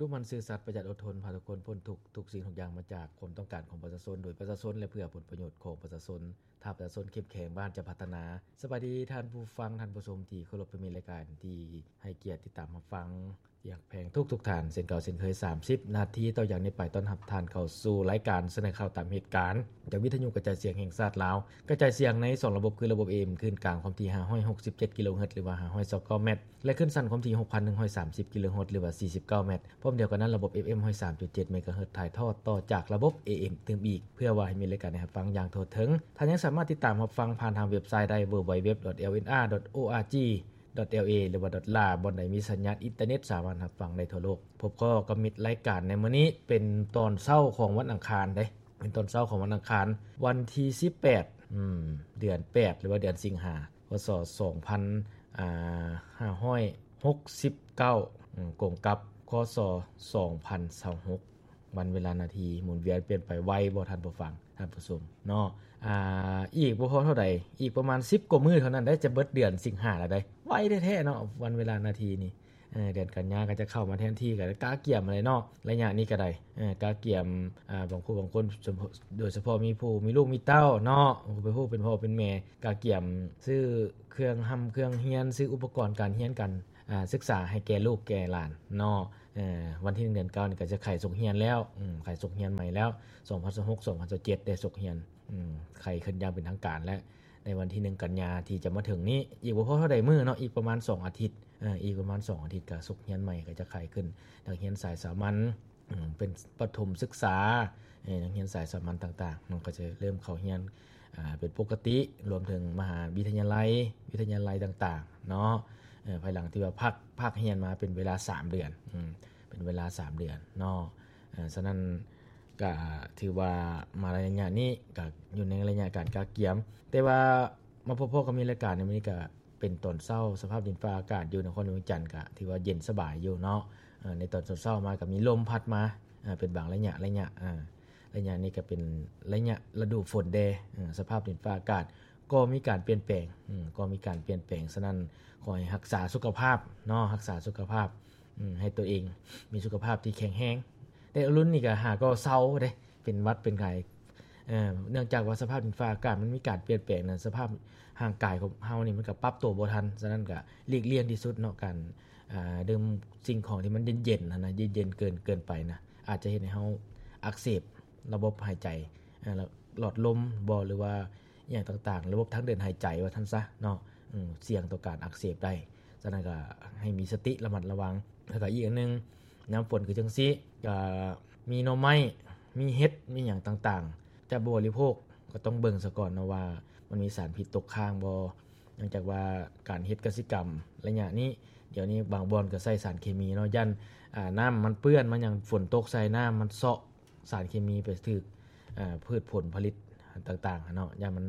ດຸໝັ່ນ ຊື່ສັດ ປະຢັດ ອົດທົນ ພາທຸກຄົນພົ້ນທຸກ ທຸກສິ່ງທຸກຢ່າງມາຈາກຄວາມຕ້ອງການຂອງປະຊາຊົນ ໂດຍປະຊາຊົນ ແລະ ເພື່ອຜົນປະໂຫຍດຂອງປະຊາຊົນ. ຖ້າປະຊາຊົນເຂັ້ມແຂງ ບ້ານຈະພັດທະນາ. ສະບາຍດີທ່ານຜູ້ຟັງ, ທ່ານຜູ້ຊົມທີ່ເຄົາລົບ, ຜູ້ມີລາຍການທີ່ໃຫ້ກຽດຕິດຕາມຮັບຟັງທີ່ຮັກແພງທຸກໆທ່ານ. ເຊັ່ນເກົ່າເຊັ່ນເຄີຍ, ສາມສິບນາທີຕໍ່ຈາກນີ້ໄປ ຕ້ອນຮັບທ່ານເຂົ້າສູ່ລາຍການສະເໜີຂ່າວຕາມເຫດການ ຈາກວິທະຍຸກະຈາຍສຽງແຫ່ງຊາດລາວ, ກະຈາຍສຽງໃນສອງລະບົບ ຄືລະບົບ ເອເອັມ ຄື້ນກາງຄວາມຖີ່ ຫ້າຮ້ອຍຫົກສິບເຈັດ ກິໂລເຮີດ ຫຼືວ່າ ຫ້າຮ້ອຍຊາວເກົ້າແມັດ ແລະ ຄື້ນສັ້ນຄວາມຖີ່ ຫົກພັນໜຶ່ງຮ້ອຍສາມສິບ ກິໂລເຮີດ ຫຼືວ່າ ສີ່ສິບເກົ້າແມັດ. ພ້ອມດຽວກັນນັ້ນ, ລະບົບ ເອຟເອັມ ຮ້ອຍສາມຈຸດເຈັດ ເມກາເຮີດ ຖ່າຍທອດຕໍ່ຈາກລະບົບ ເອເອັມ ຕື່ມອີກ ເພື່ອວ່າໃຫ້ມີລາຍການໃຫ້ຮັບຟັງຢ່າງທົ່ວເຖິງ. ທ່ານຍັງສາມາດຕິດຕາມຮັບຟັງຜ່ານທາງເວັບໄຊໄດ້ ດັບເບິນຢູດັບເບິນຢູດັບເບິນຢູ ດອດ ໂອອາຈີ ດອດ ແອລເອ ຫຼືວ່າ ດອດ ລາ ບ່ອນໃດມີສັນຍານອິນເຕີເນັດ ສາມາດຮັບຟັງໄດ້ທົ່ວໂລກ. ພົບພໍ້ກັບມິດລາຍການໃນມື້ນີ້ ເປັນຕອນເຊົ້າຂອງວັນອັງຄານເດ້. ເປັນຕອນເຊົ້າຂອງວັນອັງຄານ ວັນທີສິບແປດ ອືມ ເດືອນແປດ ຫຼືວ່າເດືອນສິງຫາ ພ.ສ. ສອງພັນ ອ່າ ຫ້າຮ້ອຍຫົກສິບເກົ້າ ອືມ ກົງກັບ ຄ.ສ. ສອງພັນຊາວຫົກ. ວັນເວລານາທີໝູນວຽນປ່ຽນໄປໄວບໍ່ ທ່ານຜູ້ຟັງ ທ່ານຜູ້ຊົມເນາະ. ອ່າ ອີກບໍ່ພໍເທົ່າໃດ, ອີກປະມານສິບກວ່າມື້ເທົ່ານັ້ນໄດ໋ ຈະເບິດເດືອນສິງຫາແລ້ວໄດ໋. ໄວແທ້ໆເນາະ ວັນເວລານາທີນີ້. ເອີ ເດືອນກັນຍາກໍຈະເຂົ້າມາແທນທີ່ ກໍກະກຽມຫັ້ນແຫຼະເນາະ ໄລຍະນີ້ກໍໄດ້. ເອີ ກະກຽມ ອ່າ ບາງຜູ້ບາງຄົນ ໂດຍສະເພາະມີຜູ້ມີລູກມີເຕົ້າເນາະ ຜູ້ເປັນພໍ່ເປັນແມ່ ກະກຽມຊື້ເຄື່ອງຮ່ຳເຄື່ອງຮຽນ ຊື້ອຸປະກອນການຮຽນການ ອ່າ ສຶກສາໃຫ້ແກ່ລູກແກ່ຫຼານເນາະ. ເອີ ວັນທີໜຶ່ງ ເດືອນເກົ້ານີ້ກໍຈະໄຂສົກຮຽນແລ້ວ ອືມ ໄຂສົກຮຽນໃໝ່ແລ້ວ ສອງພັນຊາວຫົກ ສອງພັນຊາວເຈັດ ໄດ້ສົກຮຽນ ອືມ ໄຂຂຶ້ນຢ່າງເປັນທາງການແລ້ວ ໃນວັນທີໜຶ່ງ ກັນຍາທີ່ຈະມາເຖິງນີ້. ອີກບໍ່ພໍເທົ່າໃດມື້ເນາະ ອີກປະມານສອງອາທິດ ເອີ ອີກປະມານສອງອາທິດກໍສົກຮຽນໃໝ່ ກໍຈະໄຂຂຶ້ນ ນັກຮຽນສາຍສາມັນ ເປັນປະຖົມສຶກສາ ເອີ ນັກຮຽນສາຍສາມັນຕ່າງໆ ມັນກໍຈະເລີ່ມເຂົ້າຮຽນ ອ່າ ເປັນປົກກະຕິ ລວມເຖິງມະຫາວິທະຍາໄລ ວິທະຍາໄລຕ່າງໆເນາະ. ເອີ ພາຍຫຼັງທີ່ວ່າພັກ ພັກຮຽນມາເປັນເວລາສາມເດືອນ ອືມ ເປັນເວລາສາມເດືອນເນາະ. ເອີ ສະນັ້ນ ກະຖືວ່າມາໄລຍະນີ້ກະຢູ່ໃນໄລຍະການກະກຽມ ແຕ່ວ່າມາພົບພໍ້ກັບມິດລາຍການໃນມື້ນີ້ກະເປັນຕອນເຊົ້າ ສະພາບດິນຟ້າອາກາດຢູ່ນະຄອນຫຼວງວຽງຈັນກະຖືວ່າເຢັນສະບາຍຢູ່ເນາະ. ເອີ ໃນຕອນເຊົ້າໆມາກະມີລົມພັດມາ ເປັນບາງໄລຍະ ໄລຍະ ເອີ ໄລຍະນີ້ກະເປັນໄລຍະລະດູຝົນແດ່. ເອີ ສະພາບດິນຟ້າອາກາດກໍມີການປ່ຽນແປງ ເອີ ກໍມີການປ່ຽນແປງ. ສະນັ້ນ ຂໍໃຫ້ຮັກສາສຸຂະພາບເນາະ ຮັກສາສຸຂະພາບ ເອີ ໃຫ້ຕົວເອງມີສຸຂະພາບທີ່ແຂງແຮງ. ແຕ່ລຸ້ນນີ້ກໍຫາກໍເຊົາເດ້ ເປັນຫວັດເປັນໄຂ້ ເອີ ເນື່ອງຈາກວ່າສະພາບດິນຟ້າອາກາດມັນມີການປ່ຽນແປງນະ ສະພາບຮ່າງກາຍຂອງເຮົານີ້ມັນກໍປັບໂຕບໍ່ທັນ. ສະນັ້ນກໍຫຼີກລ່ຽງທີ່ສຸດເນາະ ການ ອ່າ ດື່ມສິ່ງຂອງທີ່ມັນເຢັນໆຫັ້ນນະ ເຢັນໆເກີນ ເກີນໄປນະ ອາດຈະເຮັດໃຫ້ເຮົາອັກເສບລະບົບຫາຍໃຈ ເອີ ຫຼອດລົມບໍ ຫຼືວ່າ ອີ່ຫຍັງຕ່າງໆ ລະບົບທາງເດີນຫາຍໃຈວ່າຊັ້ນຊະເນາະ ເອີ ສ່ຽງຕໍ່ການອັກເສບໄດ້. ສະນັ້ນກໍໃຫ້ມີສະຕິລະມັດລະວັງ. ແລ້ວກໍອີກອັນໜຶ່ງ ຍາມຝົນຄືຈັ່ງຊີ້ ກໍມີໜໍ່ໄມ້ ມີເຫັດ ມີຫຍັງຕ່າງໆ ຈະບໍລິໂພກ ກໍຕ້ອງເບິ່ງສະກ່ອນເນາະວ່າມັນມີສານພິດຕົກຄ້າງບໍ່. ເນື່ອງຈາກວ່າການເຮັດກະສິກຳໄລຍະນີ້ ດຽວນີ້ບາງບ່ອນກໍໃສ່ສານເຄມີເນາະ ຢ້ານ ອ່າ ນ້ຳມັນເປື້ອນ ມັນຫຍັງ ຝົນຕົກໃສ່ ນ້ຳມັນເຊາະ ສານເຄມີໄປຖືກ ເອີ ພືດຜົນຜະລິດຕ່າງໆເນາະ ຢ້ານມັ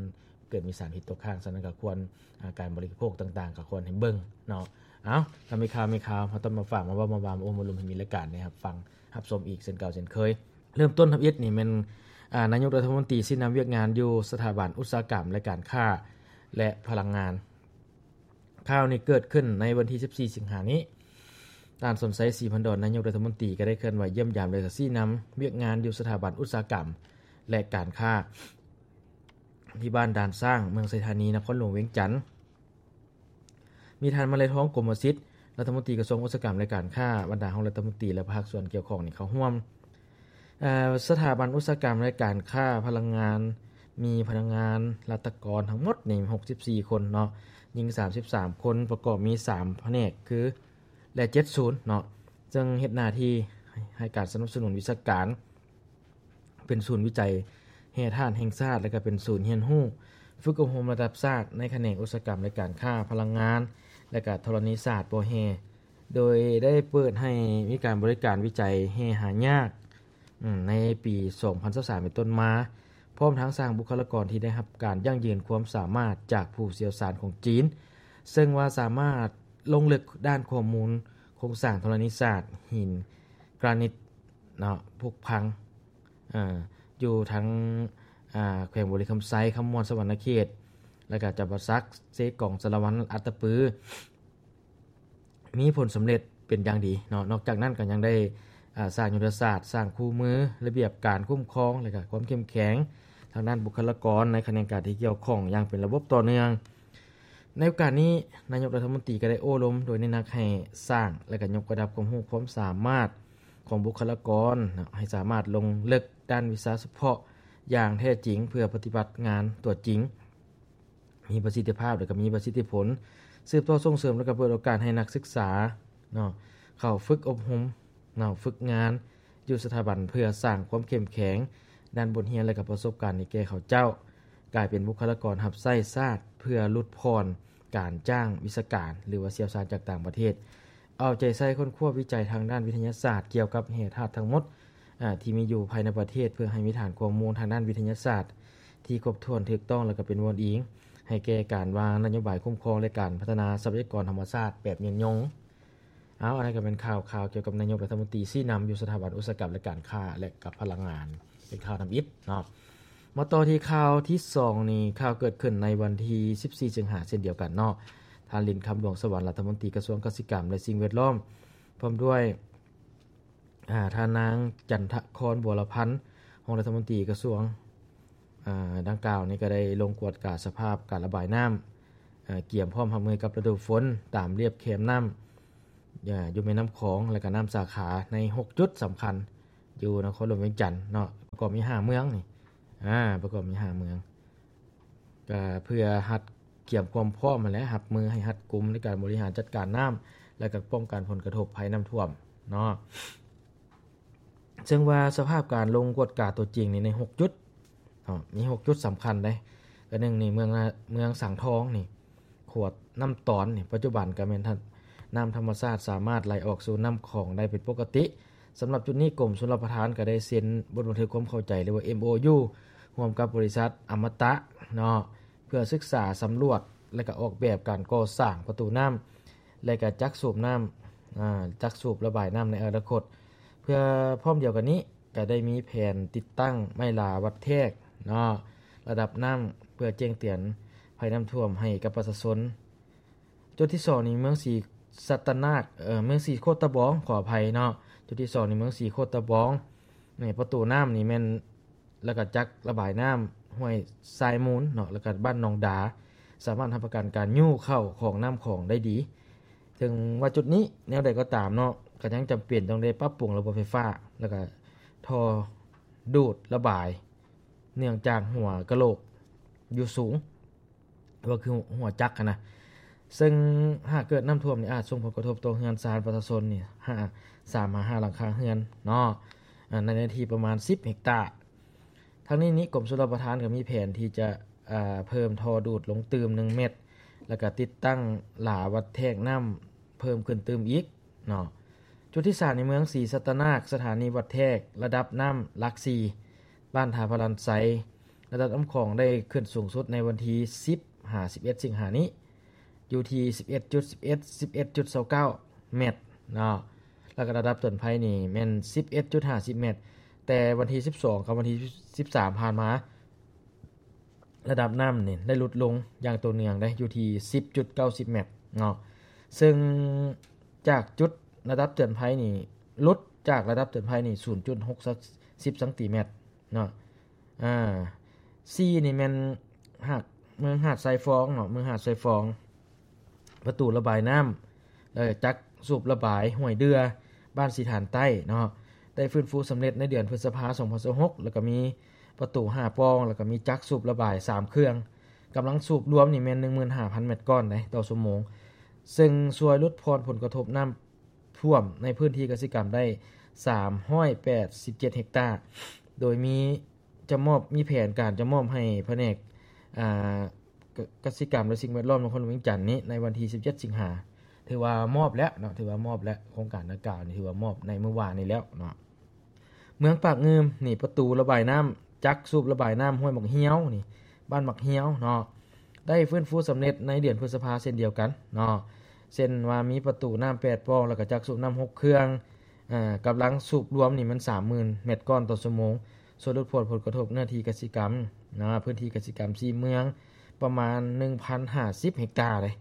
ນເກີດມີສານພິດຕົກຄ້າງ. ສະນັ້ນກໍຄວນ ອາ ການບໍລິໂພກຕ່າງໆກໍຄວນໃຫ້ເບິ່ງເນາະ. ເອົ້າ ກໍມີຂ່າວ ມີຂ່າວມາຕ້ອງມາຝາກ ມາເວົ້າ ມາວ່າ ມາໂອ້ມາລົມ ໃຫ້ມີລາຍການໄດ້ຮັບຟັງຮັບຊົມອີກເຊັ່ນເກົ່າເຊັ່ນເຄີຍ. ເລີ່ມຕົ້ນທຳອິດນີ້ແມ່ນ ອາ ນາຍົກລັດຖະມົນຕີຊີ້ນຳວຽກງານຢູ່ສະຖາບັນອຸດສາຫະກຳ ແລະ ການຄ້າ ແລະ ພະລັງງານ. ຂ່າວນີ້ເກີດຂຶ້ນໃນວັນທີສິບສີ່ ສິງຫານີ້. ທ່ານ ສົນໄຊ ສີພັນດອນ ນາຍົກລັດຖະມົນຕີ ກໍໄດ້ເຄື່ອນໄຫວຢ້ຽມຢາມ ແລະ ກໍຊີ້ນຳວຽກງານຢູ່ສະຖາບັນອຸດສາຫະກຳ ແລະ ການຄ້າ ທີ່ບ້ານດ່ານຊ້າງ ເມືອງໄຊທານີ ນະຄອນຫຼວງວຽງຈັນ. ມີທ່ານ ມະໄລທອງ ກົມມະສິດ ລັດຖະມົນຕີກະຊວງອຸດສາຫະກຳ ແລະ ການຄ້າ, ບັນດາຮອງລັດຖະມົນຕີ ແລະ ພາກສ່ວນກ່ຽວຂ້ອງນີ້ເຂົ້າຮ່ວມ. ເອີ ສະຖາບັນອຸດສາຫະກຳ ແລະ ການຄ້າພະລັງງານ ມີພະນັກງານລັດຖະກອນທັງໝົດນີ້ຫົກສິບສີ່ຄົນເນາະ, ຍິງສາມສິບສາມຄົນ, ປະກອບມີສາມພະແນກຄື ແລະ ເຈັດສູນເນາະ, ເຊິ່ງເຮັດໜ້າທີ່ໃຫ້ການສະໜັບສະໜູນວິຊາການ ເປັນສູນວິໄຈແຮ່ທາດແຫ່ງຊາດ ແລະ ກະເປັນສູນຮຽນຮູ້ຝຶກອົບຮົມລະດັບຊາດ ໃນຂະແໜງອຸດສາຫະກຳ ແລະ ການຄ້າ, ພະລັງງານ ແລະ ກະທໍລະນີສາດບໍ່ແຮ່ ໂດຍໄດ້ເປີດໃຫ້ມີການບໍລິການວິໄຈແຮ່ຫາຍາກ ອືມ ໃນປີສອງພັນຊາວສາມເປັນຕົ້ນມາ, ພ້ອມທັງສ້າງບຸກຄະລາກອນທີ່ໄດ້ຮັບການຢັ້ງຢືນຄວາມສາມາດຈາກຜູ້ຊ່ຽວຊານຂອງຈີນ, ເຊິ່ງວ່າສາມາດລົງເລິກດ້ານຂໍ້ມູນໂຄງສ້າງທໍລະນີສາດ, ຫີນກຣານິດເນາະ, ຜຸພັງ ເອີ ຢູ່ທັງ ອາ ແຂວງບໍລິຄຳໄຊ, ຄຳມ່ວນ, ສະຫວັນນະເຂດ ແລະ ກະຈຳປາສັກ, ເຊກອງ, ສາລະວັນ, ອັດຕະປື ມີຜົນສຳເລັດເປັນຢ່າງດີເນາະ. ນອກຈາກນັ້ນກໍຍັງໄດ້ ອາ ສ້າງຍຸດທະສາດ, ສ້າງຄູ່ມື, ລະບຽບການຄຸ້ມຄອງ ແລະ ກະຄວາມເຂັ້ມແຂງທາງດ້ານບຸກຄະລາກອນໃນຂະແໜງການທີ່ກ່ຽວຂ້ອງຢ່າງເປັນລະບົບຕໍ່ເນື່ອງ. ໃນໂອກາດນີ້, ນາຍົກລັດຖະມົນຕີກໍໄດ້ໂອ້ລົມໂດຍເນັ້ນໜັກໃຫ້ສ້າງ ແລະ ກະຍົກລະດັບຄວາມຮູ້ຄວາມສາມາດຂອງບຸກຄະລາກອນເນາະ ໃຫ້ສາມາດລົງເລິກດ້ານວິຊາສະເພາະຢ່າງແທ້ຈິງ ເພື່ອປະຕິບັດງານຕົວຈິງ ມີປະສິດທິພາບ ແລະ ກໍມີປະສິດທິຜົນ, ສືບຕໍ່ສົ່ງເສີມ ແລະ ກໍເປີດໂອກາດໃຫ້ນັກສຶກສາເນາະ ເຂົ້າຝຶກອົບຮົມເນາະ ຝຶກງານຢູ່ສະຖາບັນ ເພື່ອສ້າງຄວາມເຂັ້ມແຂງດ້ານບົດຮຽນ ແລະ ກໍປະສົບການໃຫ້ແກ່ເຂົາເຈົ້າ ກາຍເປັນບຸກຄະລາກອນຮັບໃຊ້ຊາດ ເພື່ອຫຼຸດຜ່ອນການຈ້າງວິຊາການ ຫຼືວ່າຊ່ຽວຊານຈາກຕ່າງປະເທດ, ເອົາໃຈໃສ່ຄົ້ນຄວ້າວິໄຈທາງດ້ານວິທະຍາສາດກ່ຽວກັບແຮ່ທາດທັງໝົດ ອາ ທີ່ມີຢູ່ພາຍໃນປະເທດ ເພື່ອໃຫ້ມີຖານຂໍ້ມູນທາງດ້ານວິທະຍາສາດທີ່ຄົບຖ້ວນ, ຖືກຕ້ອງ ແລະ ກໍເປັນບ່ອນອີງໃຫ້ແກ່ການວາງນະໂຍບາຍຄຸ້ມຄອງ ແລະ ການພັດທະນາຊັບພະຍາກອນທຳມະຊາດແບບຍືນຍົງ. ເອົາ, ອັນນັ້ນກໍເປັນຂ່າວ, ຂ່າວກ່ຽວກັບນາຍົກລັດຖະມົນຕີຊີ້ນຳຢູ່ສະຖາບັນອຸດສາຫະກຳ ແລະ ການຄ້າ ແລະ ກັບພະລັງງານ ເປັນຂ່າວທຳອິດເນາະ. ມາຕໍ່ທີ່ຂ່າວທີສອງນີ້, ຂ່າວເກີດຂຶ້ນໃນວັນທີສິບສີ່ ສິງຫາ ເຊັ່ນດຽວກັນເນາະ. ທ່ານ ລິນຄຳ ດວງສະຫວັນ ລັດຖະມົນຕີກະຊວງກະສິກຳ ແລະ ສິ່ງແວດລ້ອມ ພ້ອມດ້ວຍ ອາ ທ່ານນາງ ຈັນທະຄອນ ບົວລະພັນ ຮອງລັດຖະມົນຕີກະຊວງ ອາ ດັ່ງກ່າວນີ້ ກໍໄດ້ລົງກວດກາສະພາບການລະບາຍນ້ຳ ອາ ກຽມພ້ອມຮັບມືກັບລະດູຝົນ ຕາມລຽບແຄມນ້ຳ ອາ ຢູ່ແມ່ນ້ຳຂອງ ແລະ ກະນ້ຳສາຂາໃນຫົກຈຸດສຳຄັນ ຢູ່ນະຄອນຫຼວງວຽງຈັນເນາະ, ປະກອບມີຫ້າເມືອງນີ້ ອາ ປະກອບມີຫ້າເມືອງ. ກະເພື່ອຮັດກຽມຄວາມພ້ອມຫັ້ນແຫຼະ, ຮັບມືໃຫ້ຮັດກຸມໃນການບໍລິຫານຈັດການນ້ຳ ແລະ ກະປ້ອງກັນຜົນກະທົບໄພນ້ຳຖ້ວມເນາະ. ເຊິ່ງວ່າສະພາບການລົງກວດກາຕົວຈິງນີ້ໃນຫົກຈຸດເນາະ, ມີຫົກຈຸດສຳຄັນເດ້. ກະໜຶ່ງນີ້ ເມືອງ ເມືອງສັງທອງນີ້ ຂົວນ້ຳຕອນນີ້ ປັດຈຸບັນກະແມ່ນ ນ້ຳທຳມະຊາດສາມາດໄຫຼອອກສູ່ນ້ຳຂອງໄດ້ເປັນປົກກະຕິ. ສຳລັບຈຸດນີ້ ກົມຊົນລະປະທານກໍໄດ້ເຊັນບົດບັນທຶກຄວາມເຂົ້າໃຈ ຫຼືວ່າ ເອັມໂອຢູ ຮ່ວມກັບບໍລິສັດອະມະຕະເນາະ ເພື່ອສຶກສາສຳຫຼວດ ແລະ ກໍອອກແບບການກໍ່ສ້າງປະຕູນ້ຳ ແລະ ກໍຈັກສູບນ້ຳ ອາ ຈັກສູບລະບາຍນ້ຳໃນອະນາຄົດ. ເພື່ອພ້ອມດຽວກັນນີ້ ກໍໄດ້ມີແຜນຕິດຕັ້ງໄມ້ລາວັດແທກເນາະ ລະດັບນ້ຳ ເພື່ອແຈ້ງເຕືອນໄພນ້ຳຖ້ວມໃຫ້ກັບປະຊາຊົນ. ຈຸດທີສອງນີ້ ເມືອງສີສັດຕະນາກ ເອີ ເມືອງສີໂຄດຕະບອງ ຂໍອະໄພເນາະ. ຈຸດທີສອງນີ້ ເມືອງສີໂຄດຕະບອງ ນີ້ ປະຕູນ້ຳນີ້ແມ່ນ ແລ້ວກໍຈັກລະບາຍນ້ຳຫ້ວຍຊາຍມູນເນາະ ແລ້ວກໍບ້ານໜອງດາ ສາມາດຮັບປະກັນການຍູ້ເຂົ້າຂອງນ້ຳຂອງໄດ້ດີ. ເຖິງວ່າຈຸດນີ້ແນວໃດກໍຕາມເນາະ ກໍຍັງຈຳເປັນຕ້ອງໄດ້ປັບປຸງລະບົບໄຟຟ້າ ແລ້ວກໍທໍ່ດູດລະບາຍ ເນື່ອງຈາກຫົວກະໂຫຼກຢູ່ສູງ ກໍຄືຫົວຈັກຫັ້ນນະ. ເຊິ່ງຫາກເກີດນ້ຳຖ້ວມນີ້ ອາດສົ່ງຜົນກະທົບຕໍ່ເຮືອນຊານປະຊາຊົນນີ້ ຫ້າ ສາມຫາຫ້າຫຼັງຄາເຮືອນເນາະ ອາ ໃນເນື້ອທີ່ປະມານສິບເຮັກຕາ. ທັງນີ້ນີ້ ກົມຊົນລະປະທານກໍມີແຜນທີ່ຈະ ອາ ເພີ່ມທໍ່ດູດລົງຕື່ມໜຶ່ງແມັດ ແລ້ວກໍຕິດຕັ້ງລາວັດແທກນ້ຳເພີ່ມຂຶ້ນຕື່ມອີກເນາະ. ຈຸດທີສາມ ໃນເມືອງສີສັດຕະນາກ ສະຖານີວັດແທກລະດັບນ້ຳຫຼັກສີ່ ບ້ານທ່າພະລານໄຊ ລະດັບນ້ຳຂອງໄດ້ຂຶ້ນສູງສຸດໃນວັນທີສິບຫາສິບເອັດ ສິງຫານີ້ ຢູ່ທີ່ສິບເອັດຈຸດສິບເອັດ ສິບເອັດຈຸດຊາວເກົ້າແມັດເນາະ. ແລ້ວກໍລະດັບເຕືອນໄພນີ້ແມ່ນສິບເອັດຈຸດຫ້າສິບແມັດ, ແຕ່ວັນທີສິບສອງກັບວັນທີສິບສາມຜ່ານມາ ລະດັບນ້ຳນີ້ໄດ້ຫຼຸດລົງຢ່າງຕໍ່ເນື່ອງໄດ໋ ຢູ່ທີ່ສິບຈຸດເກົ້າສິບແມັດເນາະ. ເຊິ່ງຈາກຈຸດລະດັບເຕືອນໄພນີ້ ຫຼຸດຈາກລະດັບເຕືອນໄພນີ້ສູນຈຸດຫົກສິບຊັງຕີແມັດເນາະ. ອາ ສີ່ນີ້ແມ່ນຫາດ ເມືອງຫາດຊາຍຟອງເນາະ, ເມືອງຫາດຊາຍຟອງ ປະຕູລະບາຍນ້ຳ ແລ້ວຈັກສູບລະບາຍຫ້ວຍເດື່ອ ບ້ານສີຖານໃຕ້ເນາະ ໄດ້ຟື້ນຟູສຳເລັດໃນເດືອນພຶດສະພາ ສອງພັນຊາວຫົກ ແລ້ວກໍມີປະຕູຫ້າປ່ອງ ແລ້ວກໍມີຈັກສູບລະບາຍສາມເຄື່ອງ. ກຳລັງສູບລວມນີ້ແມ່ນ ໜຶ່ງໝື່ນຫ້າພັນແມັດກ້ອນໃດຕໍ່ຊົ່ວໂມງ, ເຊິ່ງຊ່ວຍຫຼຸດຜ່ອນຜົນກະທົບນ້ຳ ຖ້ວມໃນພື້ນທີ່ກະສິກຳໄດ້ສາມຮ້ອຍແປດສິບເຈັດເຮັກຕາ, ໂດຍມີຈະມອບ ມີແຜນການຈະມອບໃຫ້ພະແນກ ອາ ກະ ກະສິກຳ ແລະ ສິ່ງແວດລ້ອມນະຄອນຫຼວງວຽງຈັນນີ້ ໃນວັນທີສິບເຈັດ ສິງຫາ. ຖືວ່າມອບແລ້ວເນາະ, ຖືວ່າມອບແລ້ວ, ໂຄງການດັ່ງກ່າວນີ້ຖືວ່າມອບໃນມື້ວານນີ້ແລ້ວເນາະ. ເມືອງປາກງື່ມນີ້ ປະຕູລະບາຍນ້ຳ ຈັກສູບລະບາຍນ້ຳຫ້ວຍໝາກຮຽວນີ້ ບ້ານໝາກຮຽວເນາະ ໄດ້ຟື້ນຟູສຳເລັດໃນເດືອນພຶດສະພາເຊັ່ນດຽວກັນເນາະ. ເຊັ່ນວ່າມີປະຕູນ້ຳແປດປ່ອງ ແລ້ວກໍຈັກສູບນ້ຳຫົກເຄື່ອງ ອາ ກຳລັງສູບລວມນີ້ແມ່ນສາມໝື່ນແມັດກ້ອນຕໍ່ຊົ່ວໂມງ, ຊ່ວຍຫຼຸດຜ່ອນຜົນກະທົບເນື້ອທີ່ກະສິກຳນະ ພື້ນທີ່ກະສິກຳສີ່ເມືອງ ປະມານໜຶ່ງພັນຫ້າສິບເຮັກຕາເດ້.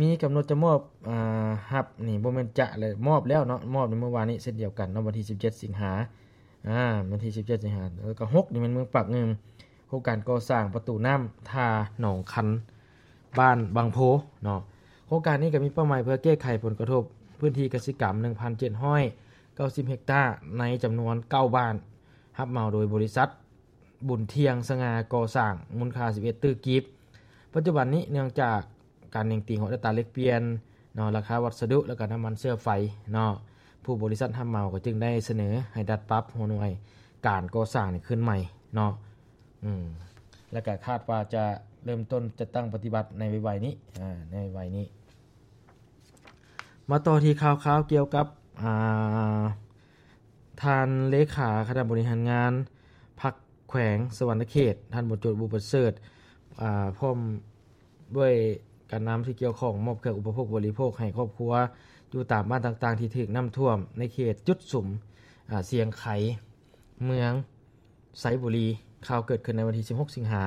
ມີກຳນົດຈະມອບ ອາ ຮັບນີ້ ບໍ່ແມ່ນຈະ ແລະ ມອບແລ້ວເນາະ, ມອບໃນມື້ວານນີ້ເຊັ່ນດຽວກັນເນາະ, ວັນທີສິບເຈັດສິງຫາ ອາ ວັນທີສິບເຈັດສິງຫາ. ແລ້ວກໍຫົກນີ້ແມ່ນເມືອງປາກງື່ມ, ໂຄງການກໍ່ສ້າງປະຕູນ້ຳທ່າໜອງຄັນ ບ້ານວັງໂພເນາະ. ໂຄງການນີ້ກໍມີເປົ້າໝາຍເພື່ອແກ້ໄຂຜົນກະທົບພື້ນທີ່ກະສິກຳ ໜຶ່ງພັນເຈັດຮ້ອຍເກົ້າສິບເຮັກຕາ ໃນຈຳນວນເກົ້າບ້ານ, ຮັບເໝົາໂດຍບໍລິສັດ ບຸນທ່ຽງສະຫງ່າກໍ່ສ້າງ ມູນຄ່າສິບເອັດຕື້ກີບ. ປັດຈຸບັນນີ້ເນື່ອງຈາກການເໜັງຕີງຂອງອັດຕາແລກປ່ຽນເນາະ, ລາຄາວັດສະດຸ ແລ້ວກໍນ້ຳມັນເຊື້ອໄຟເນາະ, ຜູ້ບໍລິສັດຮັບເໝົາກໍຈຶ່ງໄດ້ສະເໜີໃຫ້ດັດປັບຫົວໜ່ວຍການກໍ່ສ້າງນີ້ຂຶ້ນໃໝ່ເນາະ. ອືມ ແລ້ວກໍຄາດວ່າຈະເລີ່ມຕົ້ນຈັດຕັ້ງປະຕິບັດໃນໄວໆນີ້ ອາ ໃນໄວໆນີ້. ມາຕໍ່ທີ່ຂ່າວຄາວກ່ຽວກັບ ອາ ທ່ານເລຂາຄະນະບໍລິຫານງານພັກແຂວງສະຫວັນນະເຂດ ທ່ານ ບຸນໂຈດ ບຸນປະເສີດ ອາ ພ້ອມດ້ວຍການນຳທີ່ກ່ຽວຂ້ອງ ມອບເຄື່ອງອຸປະໂພກບໍລິໂພກໃຫ້ຄອບຄົວຢູ່ຕາມບ້ານຕ່າງໆທີ່ຖືກນ້ຳຖ້ວມໃນເຂດຈຸດສຸມ ອາ ຊຽງໄຄ ເມືອງ ໄຊບູລີ. ຂ່າວເກີດຂຶ້ນໃນວັນທີສິບຫົກສິງຫາ.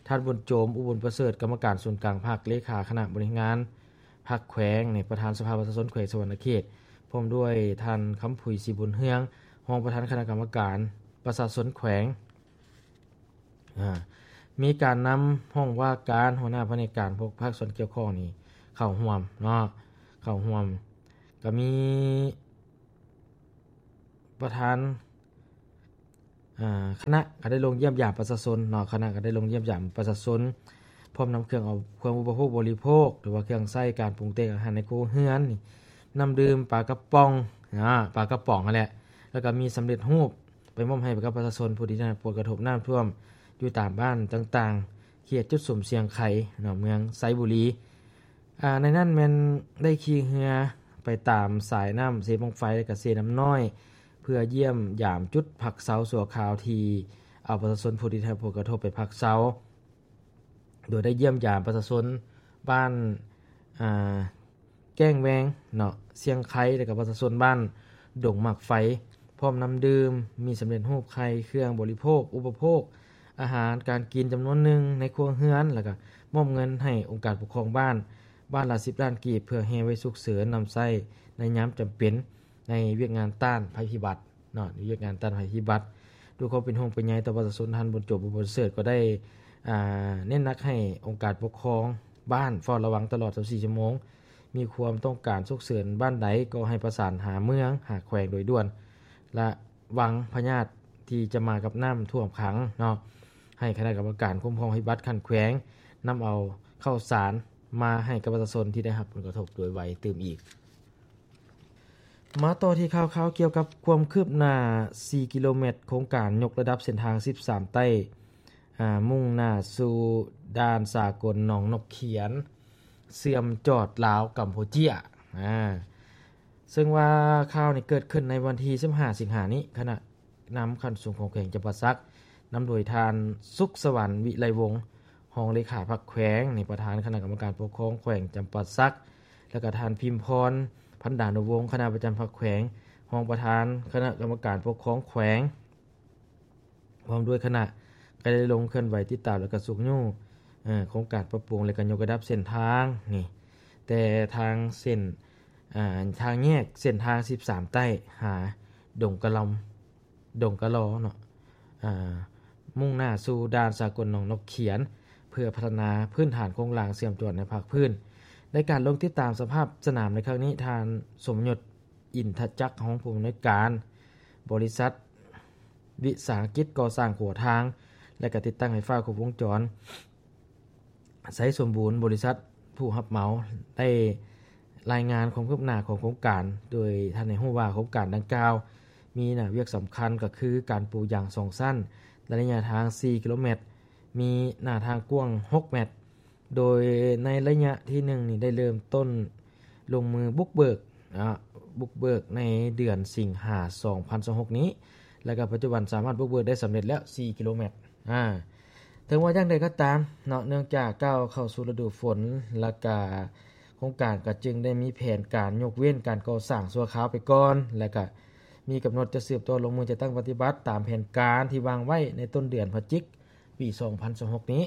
ທ່ານ ບຸນໂຈມ ອຸບຸນປະເສີດ ກຳມະການສູນກາງພັກ, ເລຂາຄະນະບໍລິຫານງານພັກແຂວງ, ປະທານສະພາປະຊາຊົນແຂວງສະຫວັນນະເຂດ, ພ້ອມດ້ວຍທ່ານ ຄຳຜຸຍ ສີບຸນເຮືອງ ຮອງປະທານຄະນະກຳມະການປະຊາຊົນແຂວງ. ອາ ມີການນຳຫ້ອງວ່າການ, ຫົວໜ້າພະແນກການພວກພາກສ່ວນກ່ຽວຂ້ອງນີ້ເຂົ້າຮ່ວມເນາະ, ເຂົ້າຮ່ວມ. ກະມີປະທານ ອາ ຄະນະກໍໄດ້ລົງຢ້ຽມຢາມປະຊາຊົນເນາະ, ຄະນະກໍໄດ້ລົງຢ້ຽມຢາມປະຊາຊົນ ພ້ອມນຳເຄື່ອງເອົາ ເຄື່ອງອຸປະໂພກບໍລິໂພກ ຫຼືວ່າເຄື່ອງໃຊ້ການປຸງແຕ່ງອາຫານໃນຄົວເຮືອນ, ນ້ຳດື່ມ, ປາກະປ໋ອງ ອາ ປາກະປ໋ອງຫັ້ນແຫຼະ, ແລ້ວກໍມີສຳເລັດຮູບໄປມອບໃຫ້ກັບປະຊາຊົນຜູ້ທີ່ໄດ້ຮັບຜົນກະທົບນ້ຳຖ້ວມຢູ່ຕາມບ້ານຕ່າງໆ ເຂດຈຸດສຸມຊຽງໄຄເນາະ, ເມືອງໄຊບູລີ. ອາ ໃນນັ້ນແມ່ນໄດ້ຂີ່ເຮືອໄປຕາມສາຍນ້ຳເຊບັ້ງໄຟ ແລະ ກະເຊນ້ຳນ້ອຍ ເພື່ອຢ້ຽມຢາມຈຸດພັກເຊົາຊົ່ວຄາວທີ່ເອົາປະຊາຊົນຜູ້ທີ່ໄດ້ຮັບຜົນກະທົບໄປພັກເຊົາ, ໂດຍໄດ້ຢ້ຽມຢາມປະຊາຊົນບ້ານ ອາ ແກ້ງແວງເນາະ ຊຽງໄຄ ແລະ ກະປະຊາຊົນບ້ານດົງໝາກໄຟ ພ້ອມນ້ຳດື່ມ, ມີສຳເລັດຮູບໄຂ່, ເຄື່ອງບໍລິໂພກ ອຸປະໂພກ ອາຫານການກິນຈຳນວນໜຶ່ງໃນຄົວເຮືອນ ແລ້ວກະມອບເງິນໃຫ້ອົງການປົກຄອງບ້ານ ບ້ານລະສິບລ້ານກີບ ເພື່ອແຮ່ໄວ້ສຸກເສີນນຳໃຊ້ໃນຍາມຈຳເປັນ ໃນວຽກງານຕ້ານໄພພິບັດເນາະ, ໃນວຽກງານຕ້ານໄພພິບັດ. ດ້ວຍຄວາມເປັນຫ່ວງເປັນໃຍຕໍ່ປະຊາຊົນ, ທ່ານ ບຸນໂຈມ ບຸນປະເສີດ ກໍໄດ້ ອາ ເນັ້ນໜັກໃຫ້ອົງການປົກຄອງບ້ານເຝົ້າລະວັງຕະຫຼອດຊາວສີ່ຊົ່ວໂມງ, ມີຄວາມຕ້ອງການສຸກເສີນບ້ານໃດ ກໍໃຫ້ປະສານຫາເມືອງ ຫາແຂວງໂດຍດ່ວນ, ລະວັງພະຍາດທີ່ຈະມາກັບນ້ຳຖ້ວມຂັງເນາະ, ໃຫ້ຄະນະກຳມະການຄຸ້ມຄອງໄພພິບັດຂັ້ນແຂວງ ນຳເອົາເຂົ້າສານມາໃຫ້ກັບປະຊາຊົນທີ່ໄດ້ຮັບຜົນກະທົບໂດຍໄວຕື່ມອີກ. ມາຕໍ່ທີ່ຂ່າວຄາວກ່ຽວກັບຄວາມຄືບໜ້າສີ່ກິໂລແມັດ ໂຄງການຍົກລະດັບເສັ້ນທາງສິບສາມໃຕ້ ອາ ມຸ່ງໜ້າສູ່ດ່ານສາກົນໜອງນົກຂຽນ ເຊື່ອມຈອດລາວກຳປູເຈຍ. ອາ ເຊິ່ງວ່າຂ່າວນີ້ເກີດຂຶ້ນໃນວັນທີສິບຫ້າສິງຫານີ້, ຄະນະ ນຳຂັ້ນສູງຂອງແຂວງຈຳປາສັກ ນຳໂດຍທ່ານ ສຸກສະຫວັນ ວິໄລວົງ ຮອງເລຂາພັກແຂວງ, ນີ້ ປະທານຄະນະກຳມະການປົກຄອງແຂວງຈຳປາສັກ ແລ້ວກະທ່ານ ພິມພອນ ພັນດານຸວົງ ຄະນະປະຈຳພັກແຂວງ, ຮອງປະທານຄະນະກຳມະການປົກຄອງແຂວງ ພ້ອມດ້ວຍຄະນະ ກໍໄດ້ລົງເຄື່ອນໄຫວຕິດຕາມ ແລ້ວກະຊຸກຍູ້ ເອີ ໂຄງການປັບປຸງ ແລ້ວກະຍົກລະດັບເສັ້ນທາງນີ້ ແຕ່ທາງເສັ້ນ ອາ ທາງແຍກເສັ້ນທາງສິບສາມໃຕ້ ຫາດົງກະລອມ ດົງກະລໍເນາະ ອາ ມຸ່ງໜ້າສູ່ດ່ານສາກົນໜອງນົກຂຽນ ເພື່ອພັດທະນາພື້ນຖານໂຄງລ່າງເຊື່ອມຈອດໃນພາກພື້ນ. ໃນການລົງຕິດຕາມສະພາບສະໜາມໃນຄັ້ງນີ້, ທ່ານ ສົມຍົດ ອິນທະຈັກ ຮອງຜູ້ອຳນວຍການບໍລິສັດວິສາຫະກິດກໍ່ສ້າງຂົວທາງ ແລະ ກະຕິດຕັ້ງໄຟຟ້າຄົບວົງຈອນ ໄຊສົມບູນ ບໍລິສັດຜູ້ຮັບເໝົາ ໄດ້ລາຍງານຄວາມຄືບໜ້າຂອງໂຄງການ, ໂດຍທ່ານໃຫ້ຮູ້ວ່າໂຄງການດັ່ງກ່າວມີໜ້າວຽກສຳຄັນກໍຄືການປູຢາງສອງຊັ້ນ ໃນໄລຍະທາງສີ່ກິໂລແມັດ, ມີໜ້າທາງກວ້າງຫົກແມັດ, ໂດຍໃນໄລຍະທີໜຶ່ງນີ້ໄດ້ເລີ່ມຕົ້ນລົງມືບຸກເບີກ ອາ ບຸກເບີກໃນເດືອນສິງຫາ ສອງພັນຊາວຫົກນີ້ ແລ້ວກໍປັດຈຸບັນສາມາດບຸກເບີກໄດ້ສຳເລັດແລ້ວສີ່ກິໂລແມັດ. ອາ ເຖິງວ່າຢ່າງໃດກໍຕາມເນາະ, ເນື່ອງຈາກກ້າວເຂົ້າສູ່ລະດູຝົນ ແລ້ວກະໂຄງການກໍຈຶ່ງໄດ້ມີແຜນການຍົກເວັ້ນການກໍ່ສ້າງຊົ່ວຄາວໄປກ່ອນ ແລ້ວກະມີກຳນົດຈະສືບຕໍ່ລົງມືຈັດຕັ້ງປະຕິບັດຕາມແຜນການທີ່ວາງໄວ້ໃນຕົ້ນເດືອນພະຈິກ ປີສອງພັນຊາວຫົກນີ້.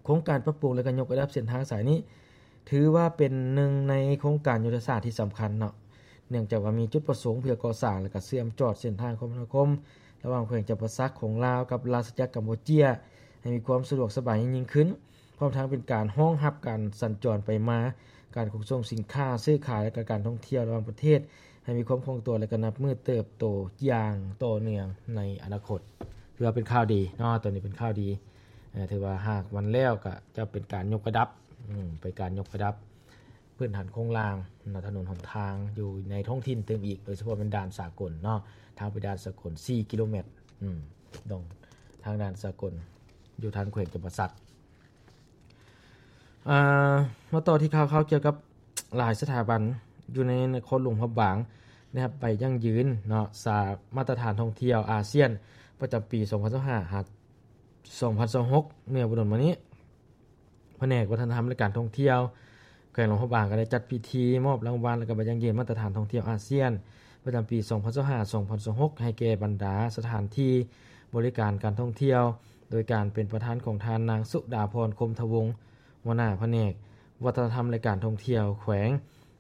ໂຄງການປັບປຸງ ແລະ ກໍຍົກລະດັບເສັ້ນທາງສາຍນີ້ ຖືວ່າເປັນໜຶ່ງໃນໂຄງການຍຸດທະສາດທີ່ສຳຄັນເນາະ ເນື່ອງຈາກວ່າມີຈຸດປະສົງເພື່ອກໍ່ສ້າງ ແລະ ກະເຊື່ອມຈອດເສັ້ນທາງຄົມມະນາຄົມ ລະຫວ່າງແຂວງຈຳປາສັກຂອງລາວກັບລາຊະຈັກກຳປູເຈຍ ໃຫ້ມີຄວາມສະດວກສະບາຍຍິ່ງຂຶ້ນ, ພ້ອມທັງເປັນການຮອງຮັບການສັນຈອນໄປມາ, ການຂົນສົ່ງສິນຄ້າ, ຊື້ຂາຍ ແລະ ກະການທ່ອງທ່ຽວລະຫວ່າງປະເທດ ໃຫ້ມີຄວາມຄ່ອງຕົວ ແລະ ກະນັບມື້ເຕີບໂຕຢ່າງຕໍ່ເນື່ອງໃນອະນາຄົດ. ຖືວ່າເປັນຂ່າວດີເນາະ, ໂຕນີ້ເປັນຂ່າວດີ. ເອີ ຖືວ່າຫາກມັນແລ້ວກະຈະເປັນການຍົກລະດັບ, ອືມ ເປັນການຍົກລະດັບພື້ນຖານໂຄງລ່າງເນາະ, ຖະໜົນຫົນທາງຢູ່ໃນທ້ອງຖິ່ນຕື່ມອີກ, ໂດຍສະເພາະແມ່ນດ່ານສາກົນເນາະ, ທາງໄປດ່ານສາກົນສີ່ກິໂລແມັດ, ອືມ ຕ້ອງ ທາງດ່ານສາກົນຢູ່ທາງແຂວງຈຳປາສັກ. ອ່າ ມາຕໍ່ທີ່ຂ່າວຄາວກ່ຽວກັບຫຼາຍສະຖາບັນຢູ່ໃນນະຄອນຫຼວງພະບາງ ໄດ້ຮັບໃບຢັ້ງຢືນເນາະ ສາ ມາດຕະຖານທ່ອງທ່ຽວອາຊຽນ ປະຈຳປີສອງພັນຊາວຫ້າ ຫາ ສອງພັນຊາວຫົກ ເມື່ອບໍ່ດົນມານີ້. ພະແນກວັດທະນະທຳ ແລະ ການທ່ອງທ່ຽວ ແຂວງຫຼວງພະບາງ ກໍໄດ້ຈັດພິທີມອບລາງວັນ ແລະ ກໍໃບຢັ້ງຢືນມາດຕະຖານທ່ອງທ່ຽວອາຊຽນ ປະຈຳປີສອງພັນຊາວຫ້າ ສອງພັນຊາວຫົກ ໃຫ້ແກ່ບັນດາສະຖານທີ່ບໍລິການການທ່ອງທ່ຽວ ໂດຍການເປັນປະທານຂອງທ່ານນາງ ສຸດາພອນ ຄົມທະວົງ ຫົວໜ້າພະແນກວັດທະນະທຳ ແລະ ການທ່ອງທ່ຽວແຂວງ,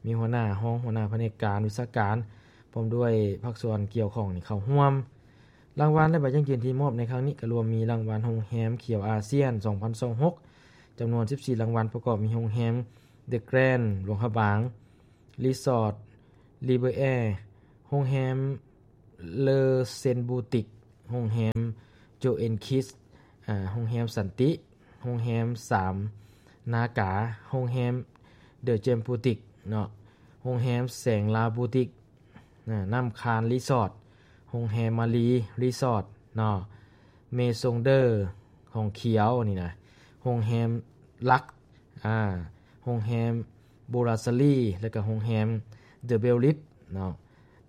ມີຫົວໜ້າ, ຮອງຫົວໜ້າພະແນກການ, ວິຊາການ ພ້ອມດ້ວຍພາກສ່ວນກ່ຽວຂ້ອງນີ້ເຂົ້າຮ່ວມ. ລາງວັນ ແລະ ໃບຢັ້ງຢືນທີ່ມອບໃນຄັ້ງນີ້ ກໍລວມມີລາງວັນໂຮງແຮມຂຽວອາຊຽນ ສອງພັນຊາວຫົກ ຈຳນວນສິບສີ່ລາງວັນ, ປະກອບມີໂຮງແຮມ The Grand ຫຼວງພະບາງ, ຣີສອດ River Air, ໂຮງແຮມ Le Sen Boutique, ໂຮງແຮມ Joe and Kids, ອາ ໂຮງແຮມສັນຕິ, ໂຮງແຮມສາມນາກາ, ໂຮງແຮມ The Gem Boutique ເນາະ, ໂຮງແຮມແສງລາວ Boutique, ນະ ນ້ຳຄານຣີສອດ, ໂຮງແຮມມາລີຣີສອດເນາະ, Maison Deux ຂອງຂຽວນີ້ນະ, ໂຮງແຮມລັກ ອາ ໂຮງແຮມ Brasserie ແລະ ກະໂຮງແຮມ The Bellis ເນາະ.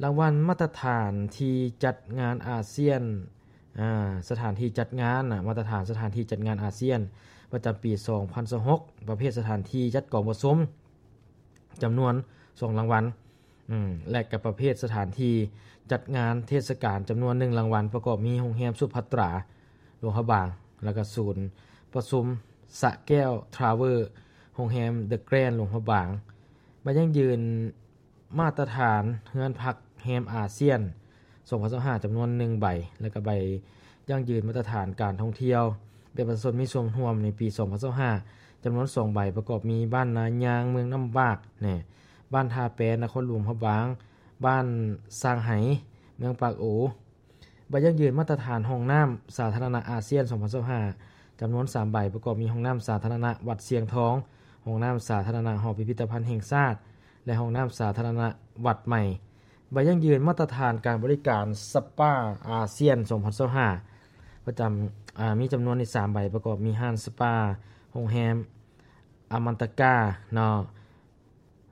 ລາງວັນມາດຕະຖານທີ່ຈັດງານອາຊຽນ ອາ ສະຖານທີ່ຈັດງານນະ ມາດຕະຖານສະຖານທີ່ຈັດງານອາຊຽນ ປະຈຳປີສອງພັນຊາວຫົກ ປະເພດສະຖານທີ່ຈັດກອງປະຊຸມ ຈຳນວນສອງລາງວັນ ອືມ ແລະ ກະປະເພດສະຖານທີ່ຈັດງານເທດສະການ ຈຳນວນໜຶ່ງລາງວັນ ປະກອບມີໂຮງແຮມສຸພັດຕາ ຫຼວງພະບາງ ແລະ ກະສູນປະຊຸມສະແກ້ວ Tower, ໂຮງແຮມ The Grand ຫຼວງພະບາງ. ໃບຢັ້ງຢືນມາດຕະຖານເຮືອນພັກແຮມອາຊຽນ ສອງພັນຊາວຫ້າ ຈຳນວນໜຶ່ງໃບ ແລະ ກະໃບຢັ້ງຢືນມາດຕະຖານການທ່ອງທ່ຽວແບບປະຊາຊົນມີສ່ວນຮ່ວມໃນປີສອງພັນຊາວຫ້າ ຈຳນວນສອງໃບ ປະກອບມີບ້ານນາຍາງ ເມືອງນ້ຳບາກ ແນ່ ບ້ານທ່າແປ ນະຄອນຫຼວງພະບາງ, ບ້ານຊ່າງໄຫ ເມືອງປາກອູ. ໃບຢັ້ງຢືນມາດຕະຖານຫ້ອງນ້ຳສາທາລະນະອາຊຽນ ສອງພັນຊາວຫ້າ ຈຳນວນສາມໃບ ປະກອບມີຫ້ອງນ້ຳສາທາລະນະວັດຊຽງທອງ, ຫ້ອງນ້ຳສາທາລະນະຫໍພິພິທະພັນແຫ່ງຊາດ ແລະ ຫ້ອງນ້ຳສາທາລະນະວັດໃໝ່. ໃບຢັ້ງຢືນມາດຕະຖານການບໍລິການສະປາອາຊຽນ ສອງພັນຊາວຫ້າ ປະຈຳ ອາ ມີຈຳນວນຢູ່ສາມໃບ ປະກອບມີຮ້ານສະປາ ໂຮງແຮມອາມັນຕະກາເນາະ,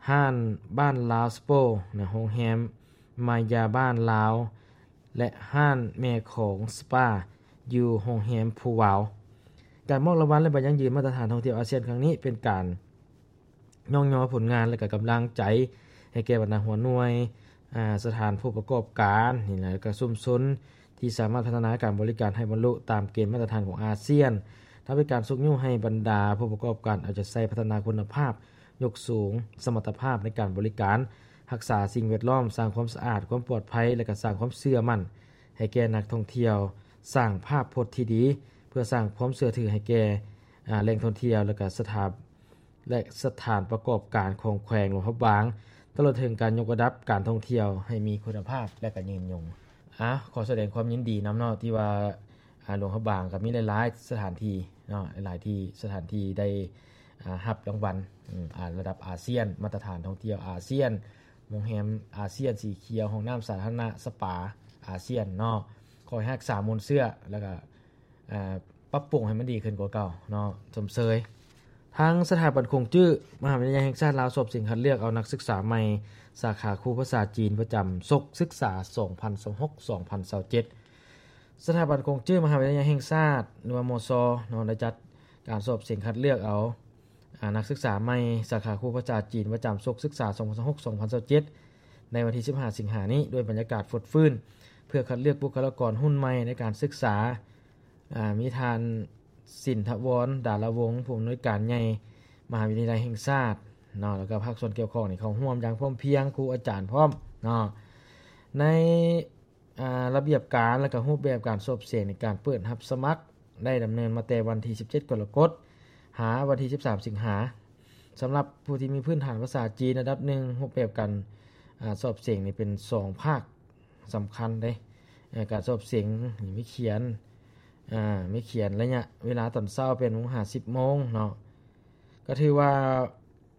ຮ້ານບ້ານລາວສະໂປນະ, ໂຮງແຮມມາຍາບ້ານລາວ ແລະ ຮ້ານແມ່ຂອງສະປາ ຢູ່ໂຮງແຮມພູວາວ. ການມອບລາງວັນ ແລະ ໃບຢັ້ງຢືນມາດຕະຖານທ່ອງທ່ຽວອາຊຽນຄັ້ງນີ້ ເປັນການຍ້ອງຍໍຜົນງານ ແລະ ກະກຳລັງໃຈໃຫ້ແກ່ບັນດາຫົວໜ່ວຍ, ອາ, ສະຖານຜູ້ປະກອບການນີ້ນະ ແລະ ກະຊຸມຊົນ ທີ່ສາມາດພັດທະນາການບໍລິການໃຫ້ບັນລຸຕາມເກນມາດຕະຖານຂອງອາຊຽນ. ທາງບໍລິການຊຸກຍູ້ໃຫ້ບັນດາຜູ້ປະກອບການເອົາໃຈໃສ່ພັດທະນາຄຸນນະພາບ, ຍົກສູງສະມັດຕະພາບໃນການບໍລິການ, ຮັກສາສິ່ງແວດລ້ອມ, ສ້າງຄວາມສະອາດ, ຄວາມປອດໄພ ແລະ ກະສ້າງຄວາມເຊື່ອໝັ້ນໃຫ້ແກ່ນັກທ່ອງທ່ຽວ, ສ້າງພາບພົດທີ່ດີ ເພື່ອສ້າງຄວາມເຊື່ອຖືໃຫ້ແກ່ ອາ ແຫຼ່ງທ່ອງທ່ຽວ ແລະ ກະສະຖາ ແລະ ສະຖານປະກອບການຂອງແຂວງຫຼວງພະບາງ, ຕະຫຼອດເຖິງການຍົກລະດັບການທ່ອງທ່ຽວໃຫ້ມີຄຸນນະພາບ ແລະ ກະຍືນຍົງ. ອາ ຂໍສະແດງຄວາມຍິນດີນຳເນາະ ທີ່ວ່າ ອາ ຫຼວງພະບາງກໍມີຫຼາຍໆສະຖານທີ່ເນາະ, ຫຼາຍໆທີ່ ສະຖານທີ່ໄດ້ ອາ ຮັບລາງວັນ ອາ ລະດັບອາຊຽນ, ມາດຕະຖານທ່ອງທ່ຽວອາຊຽນ, ໂຮງແຮມອາຊຽນສີຂຽວ, ຫ້ອງນ້ຳສາທາລະນະ, ສະປາອາຊຽນເນາະ. ຂໍໃຫ້ຮັກສາມູນເຊື້ອ ແລ້ວກະ ອາ ປັບປຸງໃຫ້ມັນດີຂຶ້ນກວ່າເກົ່າເນາະ, ຊົມເຊີຍ. ທາງສະຖາບັນຂົງຈື້ ມະຫາວິທະຍາໄລແຫ່ງຊາດລາວ ສອບເສັງຄັດເລືອກເອົານັກສຶກສາໃໝ່ ສາຂາຄູພາສາຈີນ ປະຈຳສົກສຶກສາ ສອງພັນຊາວຫົກ ສອງພັນຊາວເຈັດ. ສະຖາບັນຂົງຈື້ ມະຫາວິທະຍາໄລແຫ່ງຊາດ ຫຼືວ່າ ມຊ ເນາະ ໄດ້ຈັດການສອບເສັງຄັດເລືອກເອົາ ອາ ນັກສຶກສາໃໝ່ ສາຂາຄູພາສາຈີນ ປະຈຳສົກສຶກສາ ສອງພັນຊາວຫົກ ສອງພັນຊາວເຈັດ ໃນວັນທີສິບຫ້າ ສິງຫານີ້ ດ້ວຍບັນຍາກາດຟົດຟື້ນ ເພື່ອຄັດເລືອກບຸກຄະລາກອນຮຸ່ນໃໝ່ໃນການສຶກສາ. ອາ ມີທ່ານ ສິນທະວອນ ດາລະວົງ ຜູ້ອຳນວຍການໃຫຍ່ມະຫາວິທະຍາໄລແຫ່ງຊາດ ເນາະ ແລ້ວກໍພາກສ່ວນກ່ຽວຂ້ອງນີ້ເຂົ້າຮ່ວມຢ່າງພ້ອມພຽງ ຄູອາຈານພ້ອມເນາະ. ໃນ ອາ ລະບຽບການ ແລ້ວກໍຮູບແບບການສອບເສັງໃນການເປີດຮັບສະໝັກ ໄດ້ດຳເນີນມາແຕ່ວັນທີສິບເຈັດ ກໍລະກົດ ຫາວັນທີສິບສາມ ສິງຫາ. ສຳລັບຜູ້ທີ່ມີພື້ນຖານພາສາຈີນລະດັບໜຶ່ງ ຮູບແບບການ ອາ ສອບເສັງນີ້ເປັນສອງພາກສຳຄັນເດ້. ເອີ ການສອບເສັງນີ້ມີຂຽນ ອາ ມີຂຽນໄລຍະເວລາຕອນເຊົ້າ ແປດໂມງ ຫາ ສິບໂມງເນາະ. ກໍຖືວ່າ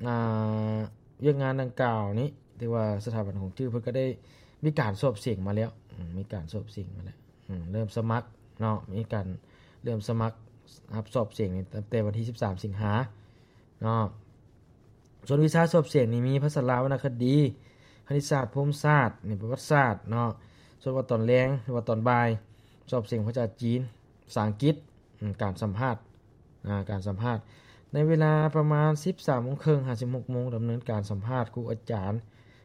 ອາ ວຽກງານດັ່ງກ່າວນີ້ ຖືວ່າສະຖາບັນຂອງຈື່ເພິ່ນກໍໄດ້ມີການສອບເສັງມາແລ້ວ ອາ ມີການສອບເສັງມາແລ້ວ ອາ ເລີ່ມສະໝັກເນາະ ມີການເລີ່ມສະໝັກຮັບສອບເສັງນີ້ຕັ້ງແຕ່ວັນທີສິບສາມ ສິງຫາເນາະ. ສ່ວນວິຊາສອບເສັງນີ້ມີພາສາລາວ ວັນນະຄະດີ, ຄະນິດສາດ, ພູມສາດ, ນີ້ປະຫວັດສາດເນາະ. ສ່ວນວ່າຕອນແລງ ຫຼືວ່າຕອນບ່າຍ ສອບເສັງພາສາຈີນ, ພາສາອັງກິດ, ອາ ການສຳພາດ ອາ ການສຳພາດໃນເວລາປະມານສິບສາມໂມງເຄິ່ງຫາສິບຫົກໂມງ ດຳເນີນການສຳພາດຄູອາຈານ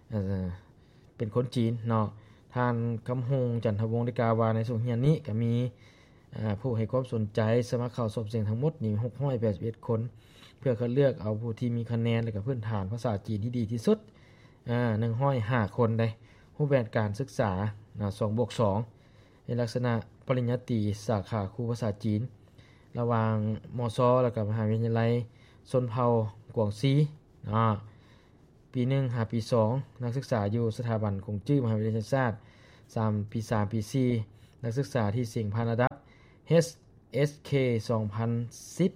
ເອີ ເປັນຄົນຈີນເນາະ. ທ່ານ ຄຳຮົງ ຈັນທະວົງ ໄດ້ກ່າວວ່າ ໃນຊ່ວງຮຽນນີ້ກໍມີ ອາ ຜູ້ໃຫ້ຄວາມສົນໃຈສະໝັກເຂົ້າສອບເສັງທັງໝົດນີ້ ຫົກຮ້ອຍແປດສິບເອັດຄົນ ເພື່ອຄັດເລືອກເອົາຜູ້ທີ່ມີຄະແນນ ແລະ ກະພື້ນຖານພາສາຈີນທີ່ດີທີ່ສຸດ ອາ ໜຶ່ງຮ້ອຍຫ້າຄົນໄດ໋. ຮູບແບບການສຶກສາ ອາ ສອງບວກສອງ ໃນລັກສະນະປະລິນຍາຕີສາຂາຄູພາສາຈີນ ລະຫວ່າງ ມຊ ແລ້ວກະມະຫາວິທະຍາໄລຊົນເຜົ່າກວາງຊີເນາະ. ປີໜຶ່ງຫາປີສອງ ນັກສຶກສາຢູ່ສະຖາບັນກົງຈື້ມະຫາວິທະຍາໄລແຫ່ງຊາດ ສາມ ປີສາມ ປີສີ່ ນັກສຶກສາທີ່ເສັງຜ່ານລະດັບ ເອສເຄ ສອງພັນສິບ